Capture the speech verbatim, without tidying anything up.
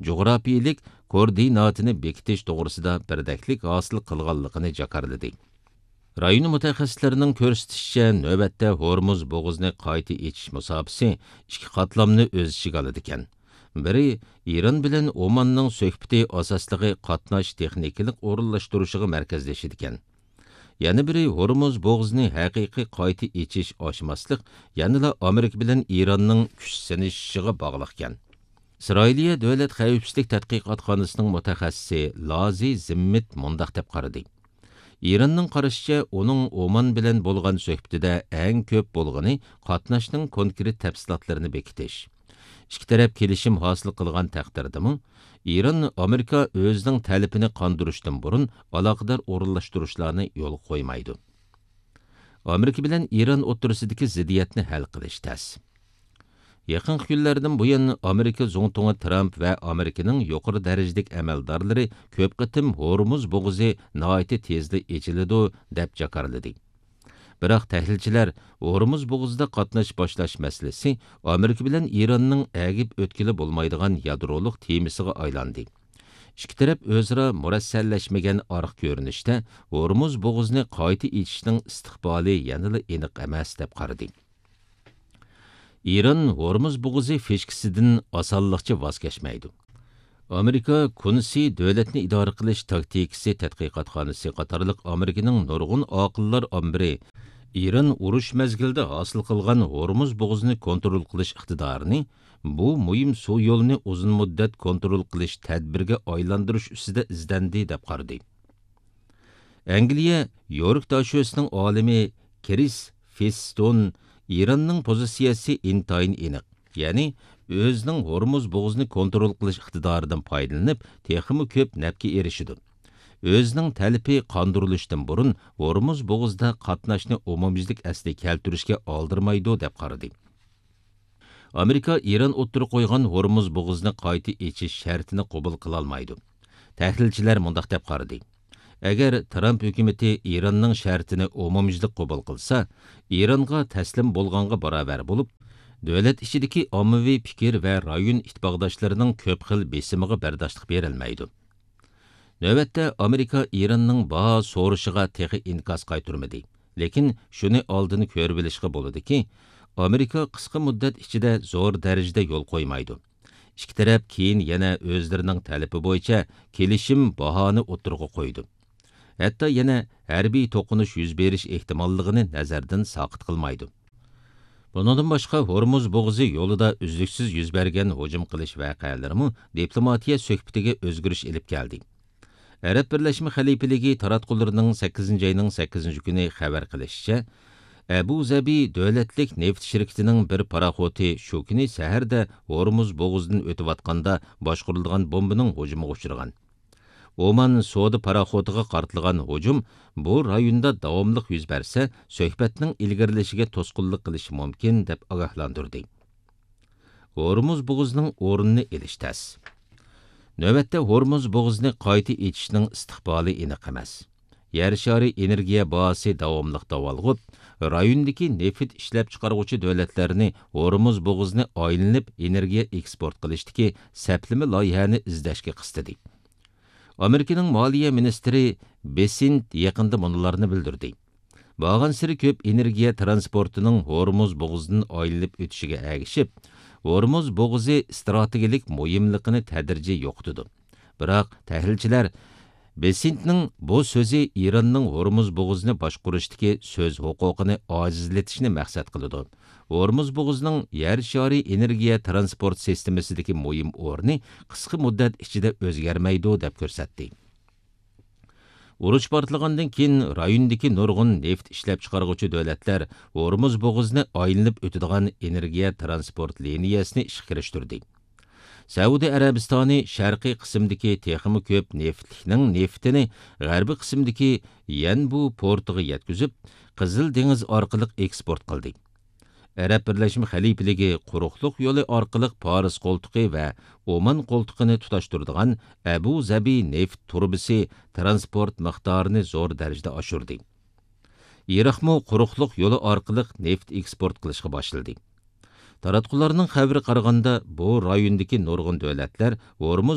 جۇغراپىيىلىك كوئوردىناتىنى بېكىتىش توغرىسىدا بىردەكلىك ھاسىل قىلغانلىقىنى جاكارلىدى. رايون مۇتەخەسسىسلىرىنىڭ كۆرسىتىشىچە، نۆۋەتتە ھورمۇز بوغۇزىنى قايتا ئېچىش مۇساپىسى ئىككى قاتلامنى ئۆز ئىچىگە ئالىدىكەن. بىرى، ئىران بىلەن ئوماننىڭ سۆھبىتى ئاساسلىقى قاتناش تېخنىكىلىق ئورۇنلاشتۇرۇشىغا مەركەزلىشىدىكەن. يەنە بىرى، ھورمۇز بوغۇزىنى ھەقىقىي قايتا ئېچىش ئاچماسلىق يەنىلا ئامېرىكا بىلەن ئىراننىڭ كۈچ سىنىشىشىغا باغلىقكەن. ئىسرائىلىيە دۆلەت خەۋپسىزلىك تەتقىقاتخانىسىنىڭ مۇتەخەسسىسى لازى زىممىت مۇنداق دەپ قارىدى: ئىراننىڭ قارىشىچە، ئۇنىڭ ئومان بىلەن بولغان سۆھبىتىدە ئەڭ كۆپ بولغىنى قاتناشنىڭ كونكرېت تەپسىلاتلىرىنى بېكىتىش. ئىككى تەرەپ كېلىشىم ھاسىل قىلغان تەقدىردىمۇ، ئىران ئامېرىكا ئۆزىنىڭ تەلىپىنى قاندۇرۇشتىن بۇرۇن ئالاقىدار ئورۇنلاشتۇرۇشلارنى يولغا قويمايدۇ. ئامېرىكا بىلەن ئىران ئوتتۇرىسىدىكى زىددىيەتنى ھەل قىلىش تەس. يېقىنقى كۈنلەردىن بۇيان، ئامېرىكا زۇڭتۇڭى ترامپ ۋە ئامېرىكىنىڭ يۇقىرى دەرىجىلىك ئەمەلدارلىرى كۆپ قېتىم ھورمۇز بوغۇزى ناھايىتى تېزلا ئېچىلىدۇ، دەپ جاكارلىدى. بىراق تەھلىلچىلەر ھورمۇز بوغۇزىدا قاتناش باشلاش مەسىلىسى ئامېرىكا بىلەن ئىراننىڭ ئەگىپ ئۆتكىلى بولمايدىغان يادرولۇق تېمىسىغا ئايلاندى. ئىككى تەرەپ ئۆزئارا مۇرەسسەلەشمىگەن ئارقا كۆرۈنۈشتە ھورمۇز بوغۇزىنى قايتا ئېچىشنىڭ ئىستىقبالى يەنىلا ئېنىق ئەمەس، دەپ قارىدى. ئىران ھورمۇز بوغۇزى فىشكىسىدىن ئاسانلىقچە ۋاز كەچمەيدۇ. ئامېرىكا كۇنسى دۆلەتنى ئىدارە قىلىش تاكتىكىسى تەتقىقاتخانىسى قاتارلىق ئامېرىكىنىڭ نۇرغۇن ئاقىللار ئامبىرى ئىران ئۇرۇش مەزگىلىدە ھاسىل قىلغان ھورمۇز بوغۇزىنى كونترول قىلىش ئىقتىدارىنى بۇ مۇھىم سۇ يولىنى ئۇزۇن مۇددەت كونترول قىلىش تەدبىرىگە ئايلاندۇرۇش ئۈستىدە ئىزدەندى، دەپ قارىدى. ئەنگلىيە يورك داشۆسىنىڭ ئالىمى كرىس فىستون ئىراننىڭ پوزىتسىيەسى ئىنتايىن ئېنىق، يەنى ئۆزىنىڭ ھورمۇز بوغۇزىنى كونترول قىلىش ئىقتىدارىدىن پايدىلىنىپ، تېخىمۇ كۆپ نەپكە ئېرىشىدۇ. ئۆزىنىڭ تەلىپى قاندۇرۇلۇشتىن بۇرۇن ھورمۇز بوغۇزىدا قاتناشنى ئومۇميۈزلۈك ئەسلىگە كەلتۈرۈشكە ئالدىرىمايدۇ، دەپ قارىدى. ئامېرىكا ئىران ئوتتۇرىغا قويغان ھورمۇز بوغۇزىنى قايتا ئېچىش شەرتىنى قوبۇل قىلالمايدۇ. تەھلىلچىلەر مۇنداق دەپ قارىدى: ئەگەر ترامپ ھۆكۈمىتى ئىراننىڭ شەرتىنى ئومۇميۈزلۈك قوبۇل قىلسا، ئىرانغا تەسلىم بولغانغا باراۋەر بولۇپ، دۆلەت ئىچىدىكى ئاممىۋى پىكىر ۋە رايون ئىتتىپاقداشلىرىنىڭ كۆپ خىل بېسىمىغا بەرداشلىق بېرەلمەيدۇ. نۆۋەتتە ئامېرىكا ئىراننىڭ باھا سورىشىغا تېخى ئىنكاس قايتۇرمىدى. لېكىن شۇنى ئالدىن كۆرۈۋېلىشقا بولىدۇكى، ئامېرىكا قىسقا مۇددەت ئىچىدە زور دەرىجىدە يول قويمايدۇ. ئىككى تەرەپ كېيىن يەنە ئۆزلىرىنىڭ تەلىپى بويىچە كېلىشىم باھانى ئوتتۇرىغا قويىدۇ. ھەتتا يەنە ھەربىي توقۇنۇش يۈز بېرىش ئېھتىماللىقىنى نەزەردىن ساقىت قىلمايدۇ. بۇنىڭدىن باشقا، ھورمۇز بوغۇزى يولىدا ئۈزلۈكسىز يۈز بەرگەن ھۇجۇم قىلىش ۋەقەلىرىمۇ دىپلوماتىيە سۆھبىتىگە ئۆزگىرىش ئېلىپ كەلدى. ئەرەب بىرلەشمە خەلىپىلىكى تاراتقۇلىرىنىڭ سەككىزىنچى ئاينىڭ سەككىزىنچى كۈنى خەۋەر قىلىشىچە، ئەبۇ زەبى دۆلەتلىك نېفىت شىركىتىنىڭ بىر پاراخوتى شۇ كۈنى سەھەردە ھورمۇز بوغۇزىدىن ئۆتۈۋاتقاندا باشقۇرۇلغان بومبىنىڭ ھۇجۇمىغا ئۇچرىغان. ئومان سودا پاراخوتىغا قارىتىلغان ھۇجۇم بۇ رايوندا داۋاملىق يۈز بەرسە، سۆھبەتنىڭ ئىلگىرىلىشىگە توسقۇنلۇق قىلىشى مۇمكىن، دەپ ئاگاھلاندۇردى. ھورمۇز بوغۇزىنىڭ ئورنىنى ئېلىش تەس. نۆۋەتتە ھورمۇز بوغۇزىنى قايتا ئېچىشنىڭ ئىستىقبالى ئېنىق ئەمەس. يەر شارى ئېنېرگىيە باھاسى داۋاملىق داۋالغۇپ، رايوندىكى نېفىت ئىشلەپچىقارغۇچى دۆلەتلەرنى ھورمۇز بوغۇزىنى ئايلىنىپ ئېنېرگىيە ئېكسپورت قىلىشتىكى سەپلىمە لايىھەنى ئىزدەشكە قىستىدى. ئامېرىكىنىڭ مالىيە مىنىستىرى بېسېنت يېقىندا مۇنۇلارنى بىلدۈردى: بارغانسېرى كۆپ ئېنېرگىيە ترانسپورتىنىڭ ھورمۇز بوغۇزىدىن ئايلىنىپ ئۆتۈشىگە ئەگىشىپ، ھورمۇز بوغۇزى ئىستراتېگىيەلىك مۇھىملىقىنى تەدرىجىي يوقىتىدۇ. بىراق تەھلىلچىلەر بېسېنتنىڭ بۇ سۆزى ئىراننىڭ ھورمۇز بوغۇزىنى باشقۇرۇشتىكى سۆز ھوقۇقىنى ئاجىزلىتىشنى مەقسەت قىلىدۇ. ھورمۇز بوغۇزىنىڭ يەر شارى ئېنېرگىيە ترانسپورت سىستېمىسىدىكى مۇھىم ئورنى قىسقا مۇددەت ئىچىدە ئۆزگەرمەيدۇ، دەپ كۆرسەتتى. ئۇرۇش پارتلىغاندىن كېيىن، رايوندىكى نۇرغۇن نېفىت ئىشلەپچىقارغۇچى دۆلەتلەر ھورمۇز بوغۇزىنى ئايلىنىپ ئۆتىدىغان ئېنېرگىيە ترانسپورت لىنىيەسىنى ئىشقا كىرىشتۈردى. سەئۇدى ئەرەبىستانى شەرقىي قىسىمدىكى تېخىمۇ كۆپ نېفىتلىكنىڭ نېفىتىنى غەربىي قىسىمدىكى يەنبۇ پورتىغا يەتكۈزۈپ، قىزىل دېڭىز ئارقىلىق ئېكسپورت قىلدى. ئەرەب بىرلەشمە خەلىپىلىكى قۇرۇقلۇق يولى ئارقىلىق پارس قولتۇقى ۋە ئومان قولتۇقىنى تۇتاشتۇرىدىغان ئەبۇ زەبى نېفىت تۇرۇبىسى ترانسپورت مىقدارىنى زور دەرىجىدە ئاشۇردى. ئىراقمۇ قۇرۇقلۇق يولى ئارقىلىق نېفىت ئېكسپورت قىلىشقا باشلىدى. تاراتقۇلارنىڭ خەۋىرىگە قارىغاندا، بۇ رايوندىكى نۇرغۇن دۆلەتلەر ھورمۇز